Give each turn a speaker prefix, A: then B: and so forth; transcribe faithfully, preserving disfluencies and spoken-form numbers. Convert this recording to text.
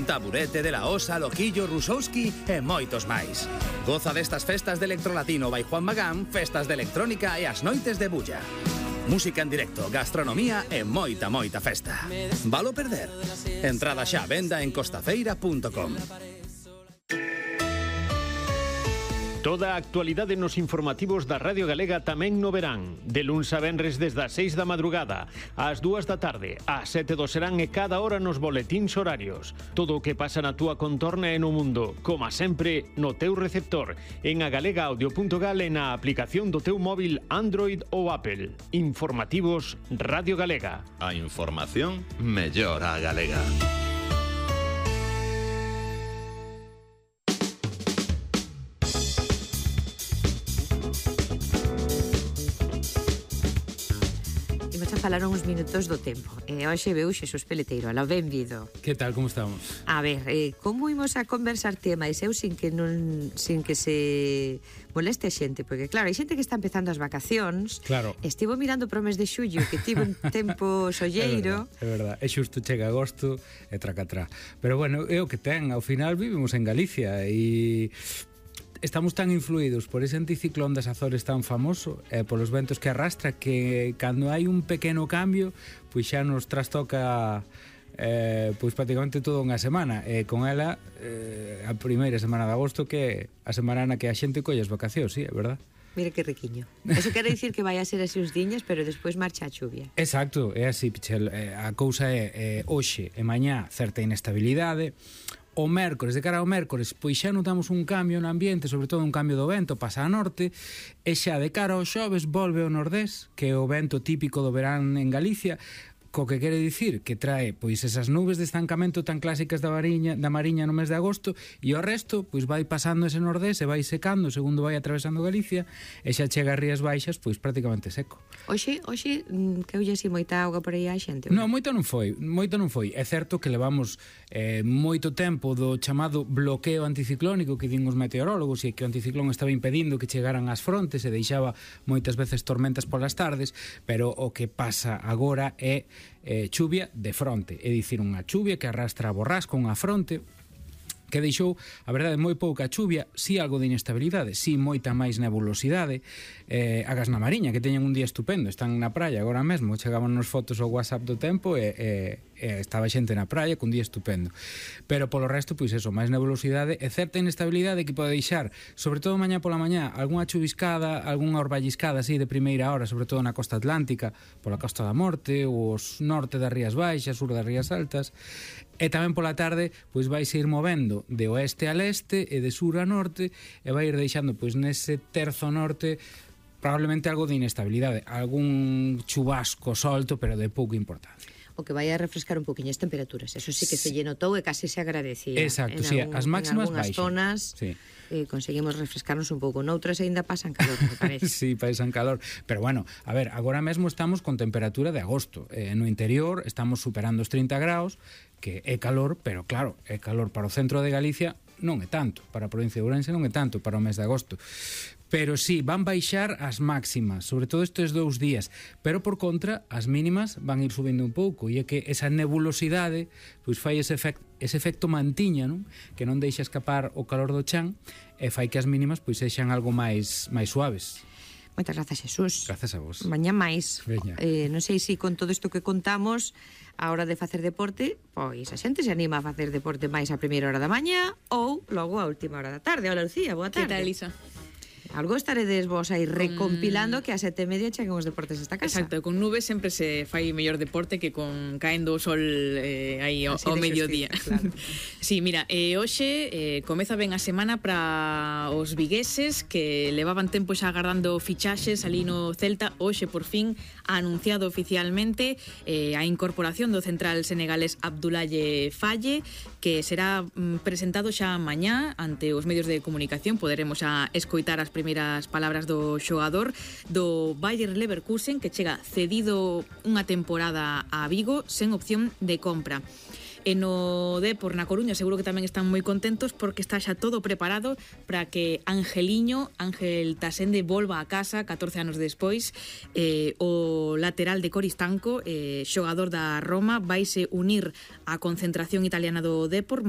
A: Taburete, De La Osa, Loquillo, Rusowski e moitos máis. Goza destas festas de Electrolatino by Juan Magán, festas de electrónica e as noites de bulla. Música en directo, gastronomía e moita, moita festa. Valo perder? Entrada xa a venda en costafeira punto com.
B: Toda a actualidade nos informativos da Radio Galega tamén no verán. De luns a venres desde as seis da madrugada, ás dúas da tarde, ás sete do serán e cada hora nos boletíns horarios. Todo o que pasa na túa contorna e no mundo, como sempre, no teu receptor, en agalega audio punto gal e na aplicación do teu móvil Android ou Apple. Informativos Radio Galega.
C: A información mellor a galega.
D: Falaron uns minutos do tempo. E hoxe veu Xesús Peleteiro. Aló, benvido.
E: Que tal, como estamos?
D: A ver, eh, como imos a conversar tema e eu sin que non sin que se moleste a xente, porque claro, hai xente que está empezando as vacacións.
E: Claro.
D: Estivo mirando pro mes de xullo, que tivo un tempo solleiro.
E: É verdade, é verdade. É xusto chega agosto e tracatrá. Pero bueno, é o que ten. Ao final vivimos en Galicia e estamos tan influídos por ese anticiclón das Azores tan famoso e polos ventos que arrastra que cando hai un pequeno cambio pois xa nos trastoca eh, pois prácticamente toda unha semana e con ela eh, a primeira semana de agosto que a semana na que a xente colle as vacacións, sí, é verdad?
D: Mire que riquiño. Eso quere dicir que vai a ser así uns diñas, pero despois marcha a chuvia.
E: Exacto, é así, Pichel. A cousa é, é hoxe e mañá certa inestabilidade. O mércores, de cara ao mércores, pois xa notamos un cambio no ambiente, sobre todo un cambio do vento, pasa a norte, e xa de cara ao xoves volve ao nordés, que é o vento típico do verán en Galicia, co que quere dicir que trae pois esas nubes de estancamento tan clásicas da Mariña, da Mariña no mes de agosto, e o resto pois vai pasando ese nordés e vai secando segundo vai atravesando Galicia e xa chega a Rías Baixas pois prácticamente seco.
D: Hoxe, hoxe que houlle así moita auga por aí a xente?
E: Non, moito non foi, moito non foi. É certo que levamos eh, moito tempo do chamado bloqueo anticiclónico que din os meteorólogos e que o anticiclón estaba impedindo que chegaran ás frontes e deixaba moitas veces tormentas polas tardes, pero o que pasa agora é eh, chuvia de fronte, é dicir, unha chuvia que arrastra a borrasca, unha fronte que deixou, a verdade, moi pouca chuvia, si algo de inestabilidade, si moita máis nebulosidade, eh, agas na Mariña, que teñen un día estupendo, están na praia agora mesmo, chegaban nos fotos ao WhatsApp do tempo e, e, e estaba xente na praia cun día estupendo. Pero polo resto, pois eso, máis nebulosidade e certa inestabilidade que pode deixar, sobre todo mañá pola mañá, algunha chuviscada, algunha orballiscada así de primeira hora, sobre todo na costa atlántica, pola Costa da Morte, os norte das Rías Baixas, sur das Rías Altas, e tamén pola tarde pois vai se ir movendo de oeste a leste e de sur a norte e vai ir deixando pois nese terzo norte probablemente algo de inestabilidade, algún chubasco solto pero de pouca importancia.
D: O que vai a refrescar un poquinho as temperaturas, eso sí que se lle notou e casi se agradecía.
E: Exacto,
D: en
E: sí,
D: algún,
E: as máximas
D: en algunhas
E: baixan.
D: zonas
E: sí.
D: eh, conseguimos refrescarnos un pouco, noutras ainda pasan calor, me parece.
E: Sí, pasan calor, pero bueno, a ver, agora mesmo estamos con temperatura de agosto, eh, no interior estamos superando os trinta graus, que é calor, pero claro, é calor para o centro de Galicia, non é tanto, para a provincia de Ourense non é tanto para o mes de agosto. Pero sí, van baixar as máximas, sobre todo estes dous días, pero por contra, as mínimas van ir subindo un pouco, e é que esa nebulosidade pois fai ese, efect, ese efecto mantiña, non? Que non deixa escapar o calor do chan e fai que as mínimas pois sexan algo máis máis suaves.
D: Moitas grazas, Xesús.
E: Grazas a vos.
D: Mañá máis.
E: Veña.
D: Eh, non sei se con todo isto que contamos a hora de facer deporte, pois a xente se anima a facer deporte máis a primeira hora da mañá ou logo a última hora da tarde. Hola, Lucía, boa tarde.
F: Que tal, Elisa?
D: Algo estaredes vos aí recompilando que a sete e media cheguen os deportes esta casa.
F: Exacto, con nubes sempre se fai mellor deporte que con caendo o sol eh, aí ao, ao mediodía. Claro. Sí, mira, eh, hoxe eh, comeza ben a semana para os vigueses que levaban tempo xa agardando fichaxes ali no Celta. Hoxe, por fin, ha anunciado oficialmente eh, a incorporación do central senegalés Abdoulaye Faye, que será mm, presentado xa mañá ante os medios de comunicación. Poderemos a escoitar as primeiras palabras do xogador do Bayer Leverkusen, que chega cedido unha temporada a Vigo sen opción de compra. E no Depor na Coruña seguro que tamén están moi contentos porque está xa todo preparado para que Angeliño, Ángel Tasende, volva a casa catorce anos despois. Eh, o lateral de Coristanco, eh, xogador da Roma, vaise unir á concentración italiana do Depor